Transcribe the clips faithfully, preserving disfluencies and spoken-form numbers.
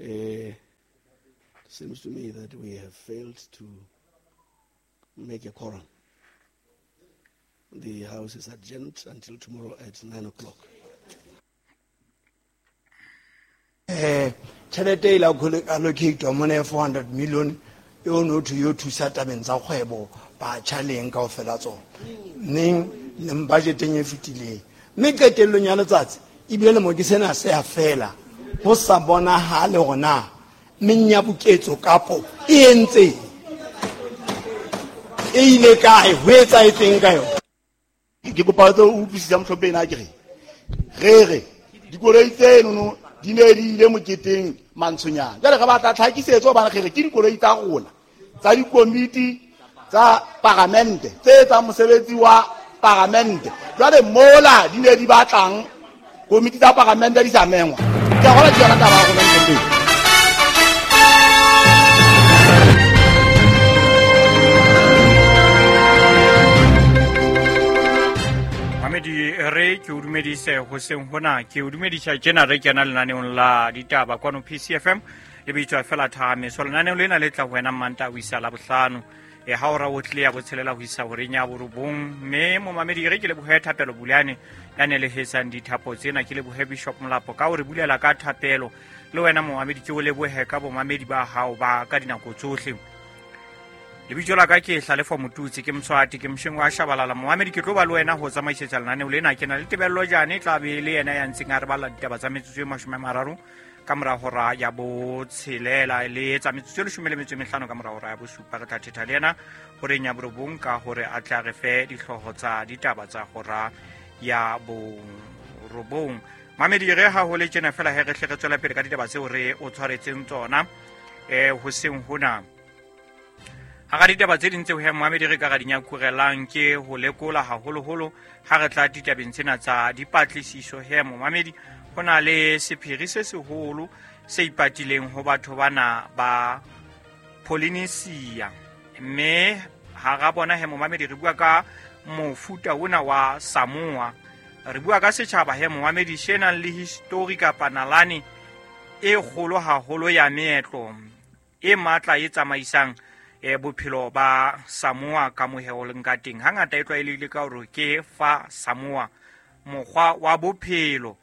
Uh, seems to me that we have failed to make a quorum. The House is adjourned until tomorrow at nine o'clock. Eh, tjhelete e la allocate mona four hundred million e o no to yo thusa tabeng tsa kgwebo batjha leng kaofela tsona. Neng le budgeteng e fetileng. Mme qetellong ya letsatsi ebile le mo ke sena se a fela ho sa bonahale hore na menyabuketso kapo e entse e ile kae ho etsahetseng ka yona. Ke kopa o utlwisisa mohlomphehi na ke re re re dikoloi tseno di ne di ile moketeng mantshonyana. Jwale re batla tlhakisetso hobane re re ke dikoloi tsa rona tsa dikomiti tsa paramente tse etsang mosebetsi wa paramente. Jwale mola di ne di batlang komiti tsa paramente di sa mengwa. Ke a gola ke yona taba ya rona mohlomphehi. Re ke o dumedise hoseng hona, ke o dumedisa tjena re kena lenaneong la ditaba kwano P C F M le bitswa fela thame. So lenaneo lena le tla ho wena Manta ho isa Labohlano e ha ora o tle ya botshelela ho isa horeng ya borobong. Mme momamedi re ke lebohe Thapelo Bulane ya ne le hesang dithapo tsena, ke lebohe Bishop Molapo ka hore bulela ka thapelo. Le wena momamedi ke o lebohe ka bomamedi ba hao ba ka dinako tsohle. Lebitso la ka ke Hlalefo Motutsi, ke Mswati, ke Msheng wa Shabalala. Momamedi ke tlo ba le wena ho tsamaisetsa lenaneo lena. Ke na le Tebello Jane tla be le yena ya ntseng a re balla ditaba tsa metsotso e mashome a mararo ka mora hora ya botshelela le tsa metsotso e leshome le metso e mehlano ka mora hora ya bosupa. Re tla thetha le yena horeng ya borobong ka hore a tla re fe dihlooho tsa ditaba tsa hora ya borobong. Mamedi re ha ho le tjena fela he re hle re tswela pele ka ditaba tseo re o tshwaretseng tsona eh hoseng hona. Hara ditaba tse ding tseo he momamedi re ka ra di nyakurelang ke ho lekola haholoholo ha re tla ditabeng tsena tsa dipatlisiso. He momamedi ho na le sephiri se seholo se ipatileng ho batho bana ba Polynesia, mme hara bona he momamedi re bua ka mofuta ona wa Samoa. Re bua ka setjhaba he momamedi se nang le history kapa nalane e kgolo haholo ya meetlo e matla e tsamaisang e bophelo ba Samoa ka moheho leng ka teng. Hangata e tlwaelehile ka hore ke fa Samoa, mokgwa wa bophelo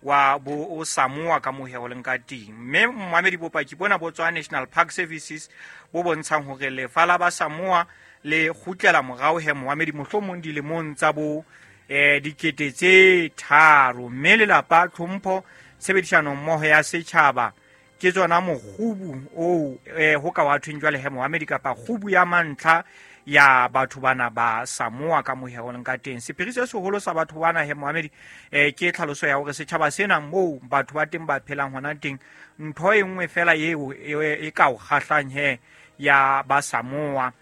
wa bo o Samoa ka moheho leng ka teng. Mme momamedi bopaki bona bo tswa National Park Services bo bontshang hore lefa la ba Samoa le kgutlela morao he momamedi mohlomong dilemong tsa bo eh dikete tse tharo. Mme lelapa, tlhompho, tshebedisano mmoho ya setjhaba ke tsona mokgubu oo eh ho ka wa thweng jwale he momamedi kapa kgubu ya mantlha ya batho bana ba Samoa ka moheho leng ka teng. Sephiri se seholo sa batho bana he momamedi eh ke tlhaloso ya hore setjhaba sena moo batho ba teng ba phelang hona teng, ntho e nngwe fela eo e ka o kgahlang he ya ba Samoa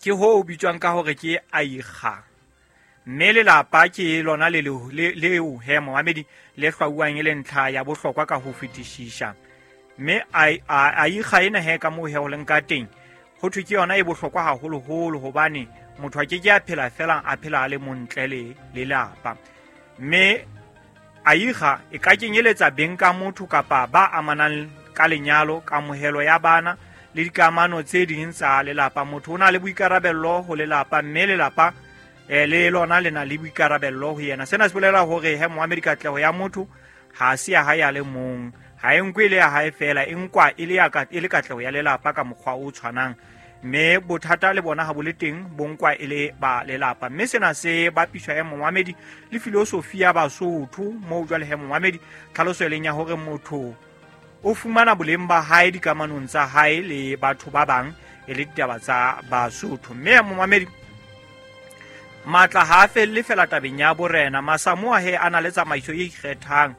ke ho bitswang ka hore ke aiga. Mme lelapa ke lona le leo he momamedi le hlwauwang e le ntlha ya bohlokwa ka ho fetisisa. Mme aiga ena he ka moo he ho leng ka teng ho thwe ke yona e bohlokwa haholoholo hobane motho a ke ke a phela fela a phela a le montle le lelapa. Mme aiga e ka kenyeletsa beng ka motho kapa ba amanang ka lenyalo, kamohelo ya bana le dikamano tse ding tsa lelapa. Motho o na le boikarabello ho lelapa, mme lelapa eh le lona le na le boikarabello ho yena. Sena se bolela hore he momamedi katleho ya motho ha se ya hae a le mong, ha e nkwe le ya hae fela, e nkwa e le ya ka e le katleho ya lelapa ka mokgwa o tshwanang. Mme bothata le bona ha bo le teng bo nkwa e le ba lelapa. Mme sena se bapiswa he momamedi le filosofi ya Basotho moo jwale he momamedi tlhaloso e leng ya hore motho o fumana boleng ba hae dikamanong tsa hae le batho ba bang e le ditaba tsa Basotho. Mme momamedi matla ha a felle fela tabeng ya borena. Masamoa he a na le tsamaiso e ikgethang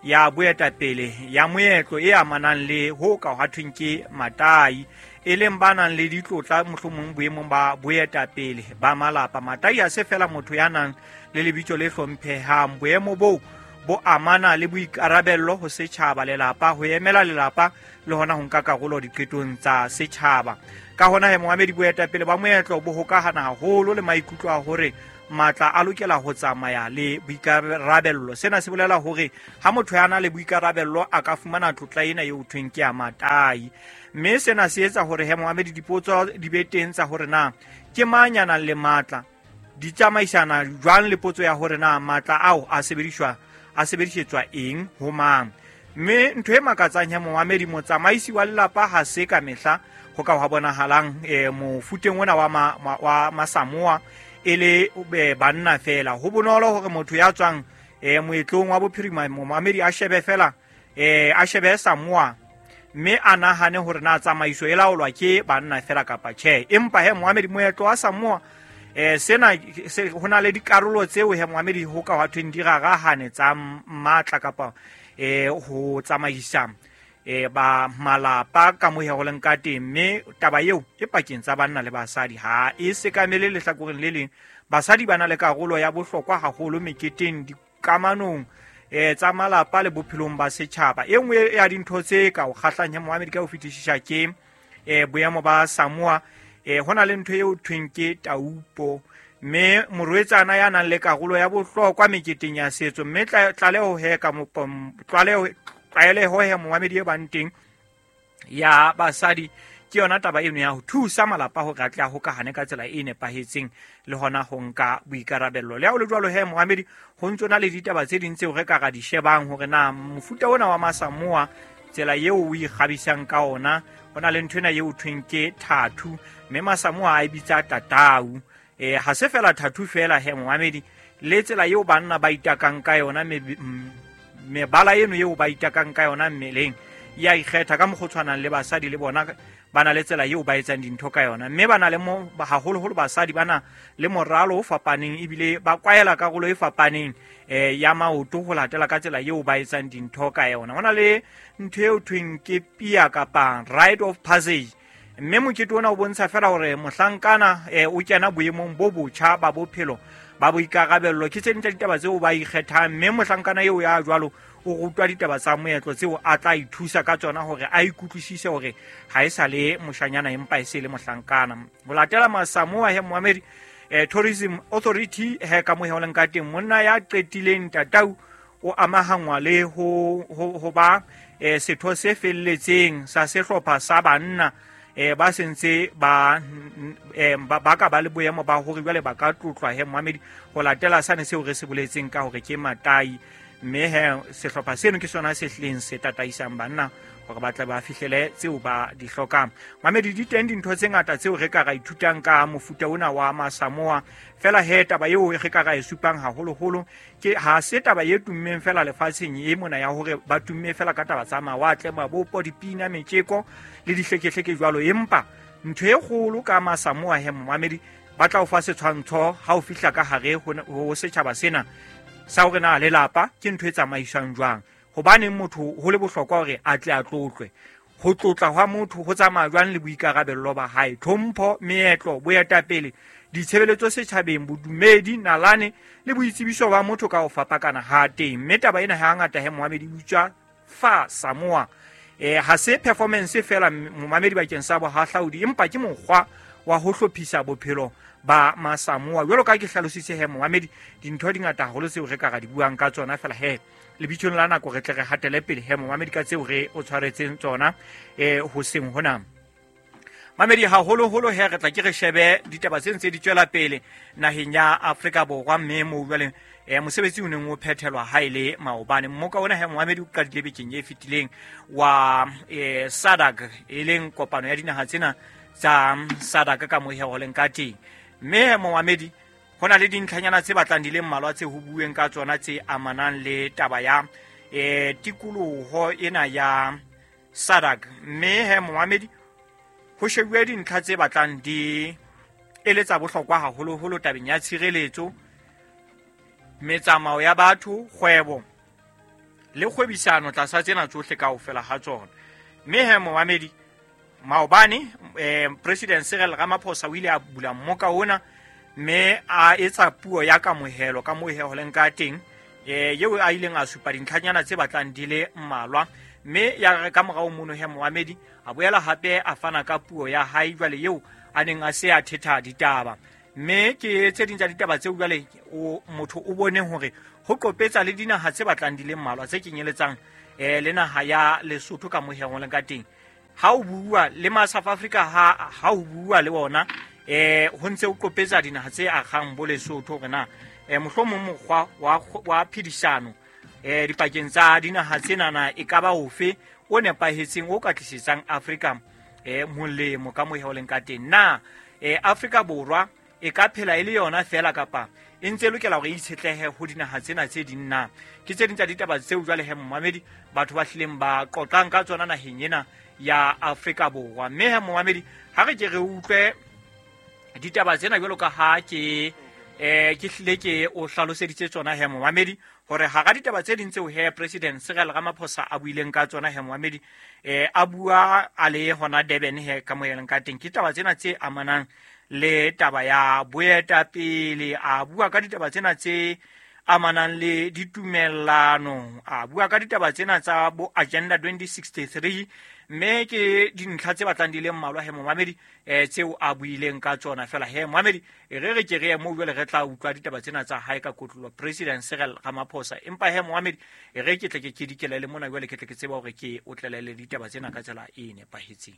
ya boetapele ya moetlo e amanang le ho ka ha thweng ke matai, e leng ba nang le ditlotla mohlomong boemong ba boetapele ba malapa. Matai ha se fela motho ya nang le lebitso le hlomphehang. Boemo boo bo amana le boikarabello ho setjhaba, lelapa, ho emela lelapa le hona ho nka karolo diqetong tsa setjhaba. Ka hona he momamedi boetapele ba moetlo bo hokahana haholo le maikutlo a hore matla a lokela ho tsamaya le boikarabello. Sena se bolela hore ha motho ya na le boikarabello a ka fumana tlotla ena eo thweng ke ya matai. Mme sena se etsa hore he momamedi dipotso di be teng tsa hore na ke mang ya nang le matla, di tsamaisana jwang le potso ya hore na matla ao a sebediswa a sebedisetswa eng ho mang. Mme ntho e makatsang ya momamedi, motsamaisi wa lelapa ha se ka mehla ho ka hwa bonahalang e mofuteng ona wa ma, ma, wa Masamoa e le banna fela. Ho bonolo hore motho ya tswang e moetlong wa bophirima momamedi a shebe fela e a shebe Samoa mme a nahane hore na tsamaiso e laolwa ke banna fela kapa tjhe. Empa he momamedi, moetlo wa Samoa eh sena se hona le dikarolo tseo he momamedi ho ka hwa thweng di rarahane tsa matla kapa eh ho tsamaisa eh ba malapa ka mo ho leng ka teng. Mme taba eo e pakeng tsa banna le basadi ha e sekamele lehlakoreng le leng. Basadi ba na le karolo ya bohlokwa haholo meketeng, dikamanong eh tsa malapa le bophelong ba setjhaba. E nngwe ya dintho tse ka o kgahlang ya momamedi ka ho fetisisa ke eh boemo ba Samoa. Eh hona le ntho eo thweng ke taupo, mme morwetsana ya nang le karolo ya bohlokwa meketeng ya setso. Mme tlaleho he ka tlaleho tlwaeleho he momamedi e bang teng ya basadi ke yona taba eno ya ho thusa malapa hore a tle a hokahane ka tsela e nepahetseng le hona ho nka boikarabello. Le ha ho le jwalo he momamedi, ho ntso na le ditaba tse ding tseo re ka ra di shebang hore na mofuta ona wa Masamoa tsela eo o ikgabisang ka ona, ho na le ntho ena eo thweng ke thathu, mme Masamoa a e bitsa tatau. Eh ha se fela thathu fela he momamedi, le tsela eo banna ba itakang ka yona, mebala eno eo ba itakang ka yona mmeleng ya ikgetha ka mokgwa o tshwanang le basadi le bona ba na le tsela eo ba etsang dintho ka yona. Mme ba na le mo haholoholo basadi ba na le moralo o fapaneng ebile ba kwaela karolo e fapaneng eh ya maoto ho latela ka tsela eo ba etsang dintho ka yona. Ho na le ntho eo thweng ke pia kapa rite of passage, mme mokete ona o bontsha fela hore mohlankana eh, o kena boemong bo botjha ba bophelo ba boikarabello. Ke tse ding tsa ditaba tseo ba ikgethang, mme mohlankana eo ya jwalo o rutwa ditaba tsa moetlo tseo a tla ithusa ka tsona hore a ikutlwisise hore ha e sa le moshanyana empa e se le mohlankana. Ho latela Masamoa he momamedi, eh, Tourism Authority he ka mo leng ka teng, monna ya qetileng tatau o amahangwa le ho ho, ho ba eh, setho se felletseng sa sehlopha sa banna eh ba sentse ba eh ba ka ba le boemo ba hore jwale ba ka tlotlwa he momamedi ho latela sane seo re se boletseng ka hore ke matai. Mme he sehlopha seno ke sona se hlileng se tataisang banna hore ba tle ba fihlele tseo ba di hlokang. Mamedi, di teng dintho tse ngata tseo re ka ra ithutang ka mofuta ona wa Masamoa. Fela he taba eo re ka ra e supang haholoholo ke ha se taba e tummeng fela lefatsheng e mona ya hore ba tumme fela ka taba tsa mawatle, mabopo, dipina, metjeko le dihlekehleke jwalo. Empa ntho e kgolo ka Masamoa he momamedi, ba tla o fa setshwantsho ha o fihla ka hare ho setjhaba sena sa hore na lelapa ke ntho e tsamaiswang jwang. Hobaneng motho ho le bohlokwa hore a tle a tlotlwe, ho tlotla hwa motho ho tsamaya jwang le boikarabello ba hae, tlhompho, meetlo, boetapele, ditshebeletso setjhabeng, bodumedi, nalane le boitsebiso ba motho ka ho fapakana ha teng. Mme taba ena ha ngata he momamedi utswa fa Samoa. Eh ha se performance fela momamedi bakeng sa bohahlaudi, empa ke mokgwa wa ho hlophisa bophelo ba Masamoa. Jwalo ka ke hlalositse he momamedi, dintho di ngata haholo tseo re ka ra di buang ka tsona fela he lebitsong la nako re tle re hatele pele he momamedi ka tseo re o tshwaretseng tsona eh hoseng hona. Mamedi, haholoholo he re tla ke re shebe ditaba tse ntse di tswela pele naheng ya Afrika Borwa, mme mo jwale eh mosebetsi o neng o phethelwa ha ile maobane. Mmoka ona he momamedi o qadile bekeng e fetileng wa eh S A D C, e leng kopano ya dinaha tsena tsa S A D C ka mo he ho leng ka teng. Mme momamedi, ho na le dintlhanyana tse batlang di le mmalwa tse ho bueng ka tsona tse amanang le taba ya eh tikoloho ena ya S A D C. Mme he momamedi, ho shebuwe dintlha tse batlang di eletsa bohlokwa haholoholo tabeng ya tshireletso, metsamao ya batho, kgwebo le kgwebisano tlasa tsena tsohle kaofela ha tsona. Mme he momamedi, maobane eh, President Cyril Ramaphosa o ile a bula mmoka ona mme a etsa puo ya kamohelo ka moo he ho leng ka teng, eh eo a ileng a supa dintlhanyana tse batlang di le mmalwa. Mme ya re ka morao mono he momamedi a boela hape a fana ka puo ya hae jwale eo a neng a se a thetha ditaba. Mme ke tse ding tsa ditaba tseo jwale o motho o bone hore ho qopetsa le dinaha tse batlang di le mmalwa tse kenyeletsang eh le naha ya Lesotho ka moheng le ka teng. Ha o bua le ma South Africa ha ha o bua le bona eh ho ntse o qopetsa dinaha tse akgang bo Lesotho hore na eh mohlomong mokgwa wa wa phedisano eh dipakeng tsa dinaha tsena e ka ba ofe o nepahetseng o ka tlisetsang Afrika eh molemo ka moheng le ka teng. Na eh Afrika Borwa e ka phela e le yona fela kapa e ntse lokela hore e itshetlehe ho dinaha tsena tse ding na? Ke tse ding tsa ditaba tseo jwale he momamedi batho ba hlileng ba qoqang ka tsona naheng ena ya Afrika Borwa. Mme he momamedi ha re ke re utlwe ditaba tsena jwalo ka ha ke eh ke hlile ke o hlaloseditse tsona he momamedi hore hara ditaba tse ding tseo he President Cyril Ramaphosa a buileng ka tsona he momamedi eh a bua a le hona Durban he ka moyeng ka teng, ke taba tsena tse amanang le taba ya boetapele, a bua ka ditaba tsena tse amanang le ditumellano, a bua ka ditaba tsena tsa bo Agenda twenty sixty-three. Mme ke dintlha tse batlang di le mmalwa he momamedi eh tseo a buileng ka tsona fela he momamedi re re ke re mo jwale re tla utlwa ditaba tsena tsa hae ka kotlolo President Cyril Ramaphosa. Empa he momamedi re ke tle ke ke dikelele mona jwale ke tle ke tseba hore ke o tlelele ditaba tsena ka tsela e nepahetseng.